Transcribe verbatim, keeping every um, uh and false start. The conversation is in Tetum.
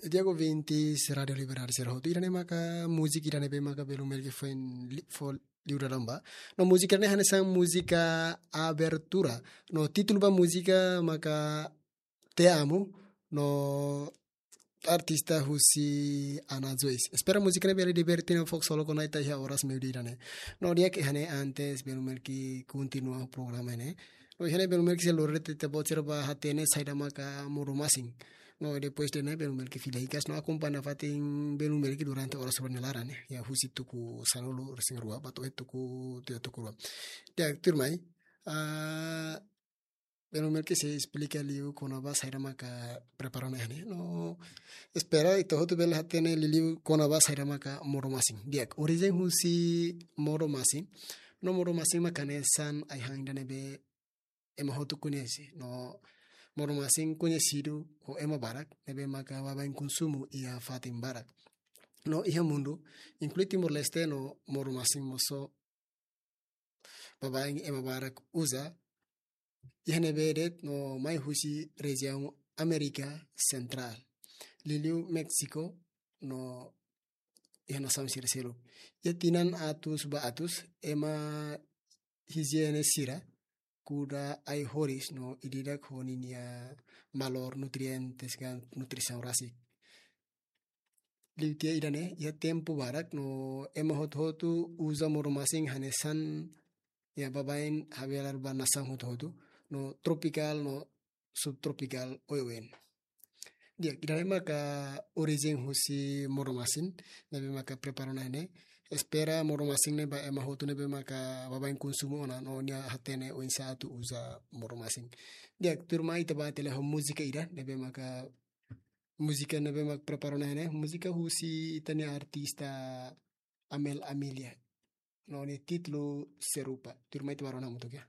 Di'ak ouvintes Rádio Liberdade sira hotu, ida-ne'e maka múzika ida ne'ebé maka Belu Melki foin li-, fó liu dala ruma. No múzika ne'e hanesan múzika abertura. No títulu ba múzika maka Te Amo. No artista husi Ana Joyce. Espera múzika ne'e bele diverte no fokus solo kona ita iha oras meiudia ida-ne'e. No di'ak, iha ne'e antes Belu Melki kontinua programa ne'e, no iha ne'e Belu Melki sei lori ita-boot sira ba hatene saida maka modo-masin. No depois de ne'e Belu Melki fila hikas no akompaña fatin Belu Melki durante oras rua nia laran ne'e. Iha husi tuku sanulu-resin-rua ba to'o tuku, tiha tuku rua. Di'ak, tuirmai, ah, Belu Melki sei esplika liu kona-ba saida maka prepara ona iha ne'e. No espera ita hotu bele hatene liuliu kona-ba saida maka modo-masin. Di'ak, orijen husi modo-masin. No modo-masin maka hanesan ai-han ida ne'ebé ema hotu koñese. No modo-masin koñesidu ho ema barak ne'ebé maka baibain konsumu iha fatin barak. No iha mundu, inklui Timor-Leste, no modo-masin mós baibain ema barak uza. Iha ne'ebé de'it no mai husi rejiaun Amérika Sentrál, liuliu Méxiku, no iha nasaun sira seluk. Iha tinan atus ba atus, ema hijiene sira kuda ai-horis no ida-idak ho ninia valór nutrientes ka nutrisaun rasik. Liu tiha ida-ne'e, iha tempu barak no ema hotu-hotu uza modo-masin hanesan, iha baibain habelar ba nasaun hotu-hotu, no tropikál no subtropikál oioin. Di'ak, ida-ne'e maka orijen husi modo-masin ne'ebé maka prepara ona iha ne'e. Espera modo-masin ne'e ba ema hotu ne'ebé maka baibain konsumu ona no nia hatene oinsá atu uza modo-masin. Di'ak, tuirmai ita bá tiha lai ho múzika ida ne'ebé maka, múzika ne'ebé maka prepara ona iha ne'e, múzika husi ita-nia artista Amel Amelia. No nia títulu Serupa. Tuirmai ita bá rona hamutuk, ya.